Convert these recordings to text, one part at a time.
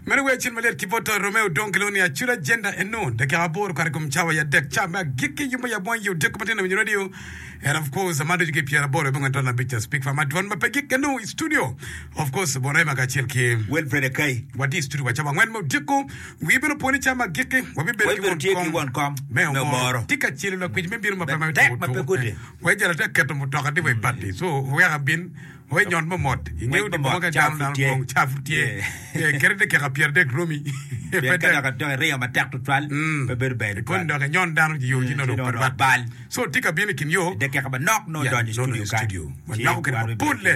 Meno wer acel malyet ki bot Romeo Odong kilwongo ni Acula Agenda eno dakika aboro okato i kom cawa i adek ca me agikki yub me yab wang i odiko matino winyo radio and of course man ducu ki pyeraboro abongwen ton abic ca speak fama dwon ma pe gik eno i studio of course Bon Rema kacel ki Wilfred Akai. Watye i studio wa cawa angwen me odiko wii bene oponi ca me agikki wabibedo ki Wabibedo won tye ki kom won kom me me omoro omoro. tye ka celo lakwic me bino ma pe ma Tek ma pe gudi. Wek jalo tye ka keto mutoka tye wa i bati so wek abin Wek nyon mo mot. Ingeyo Ngwec di mo boma mot, ka cawa dano pud dano tye. pong, cawa pud tye. Yeah. Eh, kadi dakika 30 romi. Pe Pien ka tek. dok adok iriyo matek tutwal, Mm. pe bedo ber Koni tutwal. dok inyon dano i yo ci Mm, nongo ci dong nongo pe dok rwatte. bal. So tye ka bino i kin yo. I dakika manok nongo Yeah, odonyo i nongo studio i kany. studio. Ci Wanywako kede wan wabedo mapolle.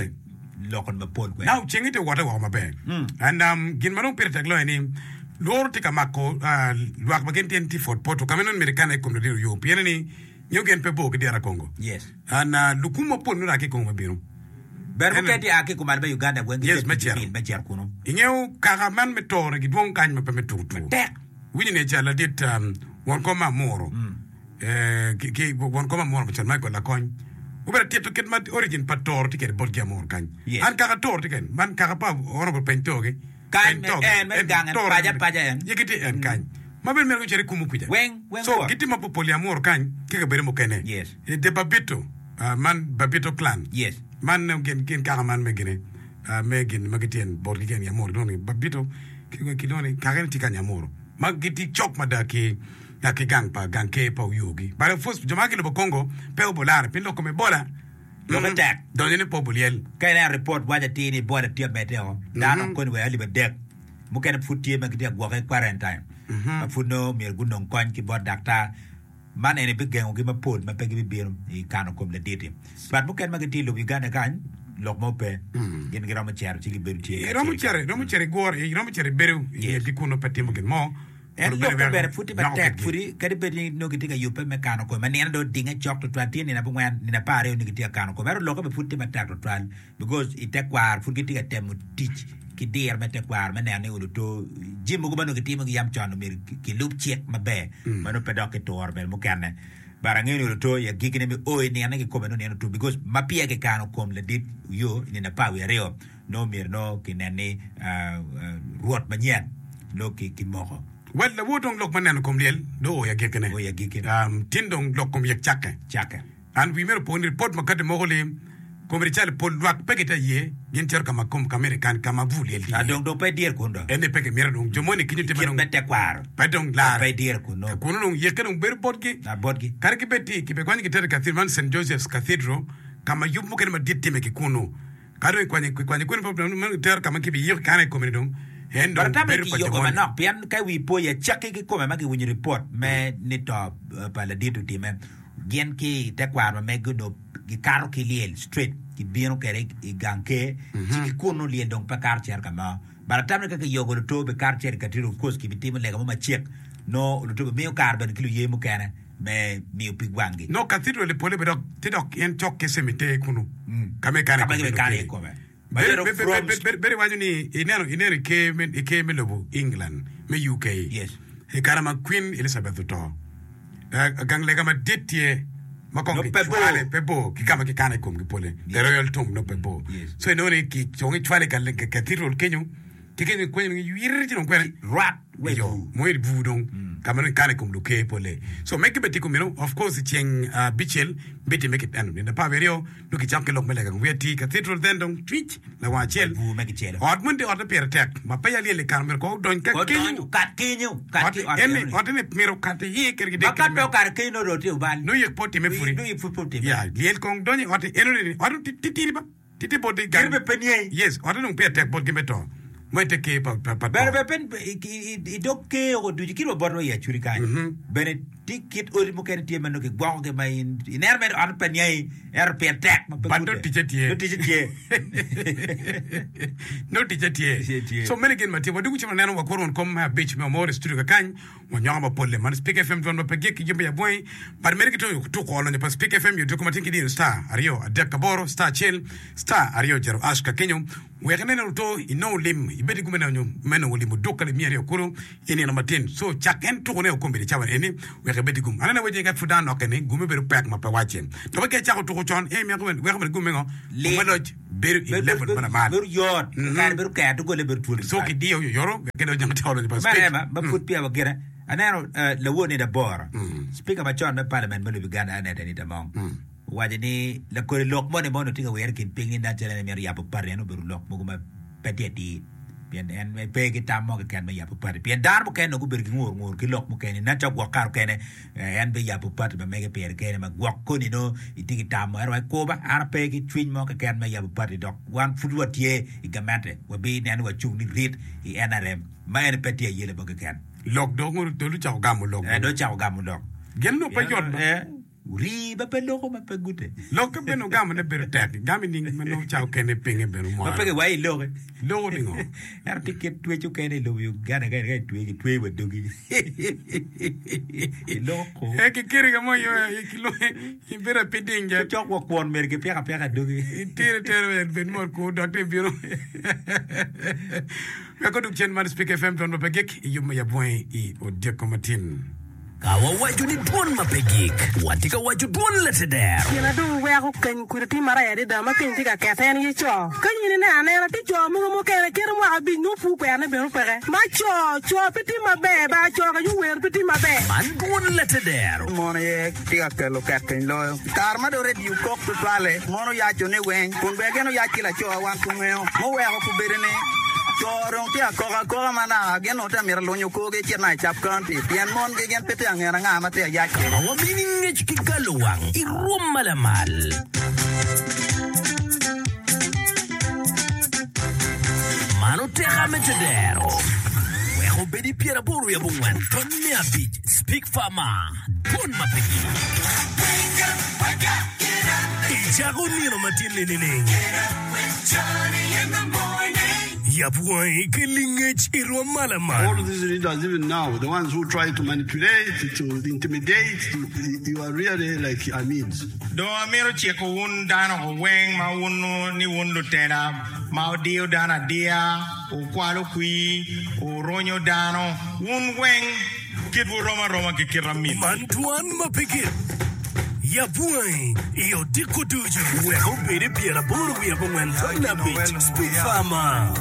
ki loko mapol kwede. Now cenge tye wote woko maber. And um, gin ma dong pire tek loyo ni lworo tye ka mako ah, lwak ma gin tye tye i Fort Portal ka ma nongo myero ikane i kom ladit oyo pien ni Nyo gin pe bor ki dyera Congo. Yes. And uh, lukum mapol nongo a ki i Congo me bino. Ber mukene tye a ki kumalo me Uganda weng Yes, gitye me ki cito. pil me cito kunu. Ingeyo kaka man me tore gidwong kany ma pe me tuku tuku. Matek. Winyo ni ca ladit um, won kom ma Amuro. Eh, ki, ki won kom Amuro macon Michael Lakony. Obedo tito kit ma origin pa toro tye kwede botgi Amuro kany. Yes. An kaka toro tye kene. Man kaka pa Honorable Peny Togi. Kany me en, me gang en, paco apaca en. Ye gitye en kany. Ma bene myero gucit i kumu kuca. Weng, weng So wot. gitye mapopol i Amuru kany ki kabedo mukene. Yes. I The Babito, ah, man Babito clan. Yes. Man eh, gin, gin kaka man me gine, ah, me gin ma gitye en botgi keny i Amuru. Kilwongo ni Babito, ki- kilwongo ni kakene tye kany i Amuru. Ma gitye cok mada ki ah, ki gang pa gang ker pa Oyugi. But of course, jo ma ki lobo Congo pe obolare pien lok kom Ebola Lokke tek. Donyo ni pe obulyel. Ka ineno ripot waco atir ni Ebola tye ka medde o, dano koni wa alip adek mukene pud tye ma gitye ka gwoke i quarantine ma pud nongo myero gunong kony ki bot daktar. Man eni bigengogi mapol ma pe gibibino i kano kom ladit-ti. But mukene ma gitye i lobo Uganda kany, lok mo pe. Gin giromo cito ci gibedo tye Iromo kacel. cito, iromo cito igure, iromo cito ibedo i Yes. ngetgi kunu pe timo gin mo. En lokke bene pud tye matek pudi, kadi bed ni nongo gitye ka yubbe me kano kome ma nino dong odinge cok tutwal, tye nino abongwen, nino apararyo nongo gitye ka kano kome, ento lokke bene pud tye matek tutwal because i tekwaro pud gitye ka temo tic ki diro me tekwaro me neno ni oluto jami mogo ma nongo gitimogi yam con myero kilub cik maber ma nongo pe dok kituro bene mukene. But angeyo ni oluto i agikkine me o i nine kikome nongo nino otum because ma peya kikano kom ladit yo i nino apar wiye aryo nongo myero nongo kinen ni rwot manyen nongo kimoko. Wel lawor dong lok me neno kom lyel dong oo i agikkine. Oo i agikkine. Tin dong lok kom yek cakke. Cakke. An wii myero opo ni ripot ma kati moko lim komiti calo pol lwak pe gitye aye gin cito ka ma kom ka myero ikan ka ma bur lyel tye Ah, iye. dong dong pe idyere kun dong. En ni pe kimito dong jo moni kinyo tye ma Kit dong me tekwaro. pe dong lar. Pe idyere kun nongo. Ka kunu dong yekke dong bedo botgi. Ah, botgi. Kadi ki bed ti kibikwanyo gitero i cathedral man Saint Joseph's Cathedral ka ma yub mukene madit time ki kunu. Ka dong ikwanyo ikwanyo kwene pa man itero ka ma kibiyiko kikano i kome-ni dong, en dong But atamo bedo ni pa jo kiyoko moni. manok pien ka wi po i acakki kikome ma kiwinyo ripot me ni to pa ladit otime, gin ki i tekwaro ma megi onongo gikato ki lyel straight gibino kwede i gang ker ci ki kunu lyel dong pe kato cito ka mo. But atamo ni ka kiyoko luto bikato cito i cathedral of course kibitimo lega mo macek nongo luto bimiyo kare bene ki luye mukene. me miyo pig wanggi. Nongo cathedral i pole bene dok tye dok en cok ki cemetery kunu ka ma ikano iye kome. Bedo iwaco ni ineno ineno i ker me i ker me lobo England me UK i kare ma Queen Elizabeth oto gang lega madit tye ma kong kicwale pe bor ki ka ma kikano i komgi pole the royal tomb nongo pe bor so inongo ni kong icwale i cathedral kenyo ki kenyo ikwenyo ywir ci dong kwene Rwak wa i Iyo, bur. mo i bur dong ka ma dong ikano i kom luker pole. So megi bene tye kumeno, of course i ceng abicel bitimme kit eno, nino apar wiye aryo nongo kicako ki lok me lega wiye atir i cathedral then dong cwic lawang acel. Wa i bur me kicelo. Ot moni tye ot ma pire tek ma peya lyel i kare myero kong odony ka Odony, kenyo. okat kenyo, okat Ot ki i ot eni, enoni. ot eni myero okat iye kadi ki Ma dek ka kede pe me. okato kenyo nongo dong tye obal. Nongo yek pe otime pudi. Nongo yek pud pe otime. Ya, lyel kong donyo i ot enoni ni, ot titidi ba. Titi botgi gang. Gin bene pe niye. Yes, otte dong peya tek botgi me to. Ma i te ker pa pa to. Bene pe i dog ker oko ducu kit wa botwa i Acholi kany bene tye kit odi mukene tye ma nongo kigwokogi ma in ineno mere otte pe niangi ento pire tek ma pe But nongo gute. ticce tye. Nongo ticce tye. Nongo ticce tye. Ticce tye. So meno gin ma tye. Wadwogo ci waneno wakuro won kom me abic me Omoro i studio kakany. Wanyongo mapolle man Spik FM dwon ma pe gik ki jami abwangi but mere ki tuko olonyo pa Spik FM yo diko matin ki diro star aryo adek aboro star acel star aryo jero ash ka kenyo. Wek inen oto inongo lim, ibed ki gum me nongo lim oduk alip miya aryo kulu i nino matin. So cak en tuko ne okombeddi cawa eni wek ibed ki gum. Aneno awaci ni ka pud dano nokke ni gume bedo pek ma pe wacce. Dok ka icako tuko con en mito weko bene gum me ngo? Gum me loc bedo i level ma lamal. Bedo yot, kare bedo ker dogole bedo twolo So kidiyo oyoto wek kede ojang tye olonyo pa Man speech. ema ma pud peya wagire aneno lawor nino aboro, Speaker macon me Parliament me lobo Uganda Annet Anita Among Owaco ni lakodi lok moni ma onongo tye ka wire i kin piny ni nen calo en mito yabo pati en obedo lok mogo ma pe tye atir pien en pe ki tam mo keken me yabo pati pien dano mukene nongo gubedo ki ngur ngur ki lok mukene nen calo gwok kare mukene en biyabo pati ma mege pire kene ma gwok koni nongo itye ki tam mo ento wai kuba an ape ki cwiny mo keken me yabo pati dok wan pud watye i gamente wabineno ni wacung ni rit i NRM ma eni pe tye ayela mo keken. Lok dong ocako gamo lok. Dong ocako gamo lok. Gin onongo pe yot ba. Rii ma pe loko ma pe gute. Lokke bene ogamo ne bedo tek. Gamo ining ma nongo ca okene pinge bene omwaro. Ma pe kiwaco iloki. Loko ningo? Ento tye kit twec okene i lobo Uganda ka itweyo kitweyo wa dogi. Iloko ko. Eh kikiri ka mo ibedo apiding ja. Cok wa kwon myero gipiko apika dogi. Itere tere bed mot ku dok te bino. Wek odug cen man Spik FM dwon ma pe gik i yub me yabwangi i odyeko matin. Ka wawaco ni dwon ma pe gik, watye ka waco dwon lateder. Gin na dong weko keny kudi tye marac adada ma keny tye ka kete en aye co. Ka in ineno anena, tye co mogo mukene kite mwaka abic nongo pur kwerone bene peke. Ma co, co pe tye maber ba, co ka yuwer pe tye maber. Man dwon lateder. Mon aye tye ka kelo ket piny loyo. I kare ma dong redio kok tutwalle, mon oyaco ni weng, kun bene gin oyac ki laco wan pe ongeyo. Muweko kubedo ni co dong tye ka koko akoka ma naka gin onongo tye ka mito lunyo korgi ecit naka i Cap County pien mongi gin pe tye ka ngene anga ma tye ka yac kwede. Ma wamini ngec ki galo wang i rwom ma lamal. Man oteka me tedero. Wek obed i pyeraboro wiye abongwen tony me abic Speak Farmer. Dwon ma pe gik. Icako nino matin-ni nining? Yab wangi ki lingec i rwom ma lamal. All these leaders even now, the ones who try to manipulate, to intimidate, to, you are really like Amids. Dong amito ciko wun dano weng ma wunnu ni wun lutela ma wudiyo dano adiya, wukwalo kwir, wurunyo dano, wun weng. Kitwu rom aroma ki kit amin. Man dwan ma pe gik. Yab wangi i odiko ducu. Wek obed i pyeraboro wiye abongwen tonna abic. Speak Farmer.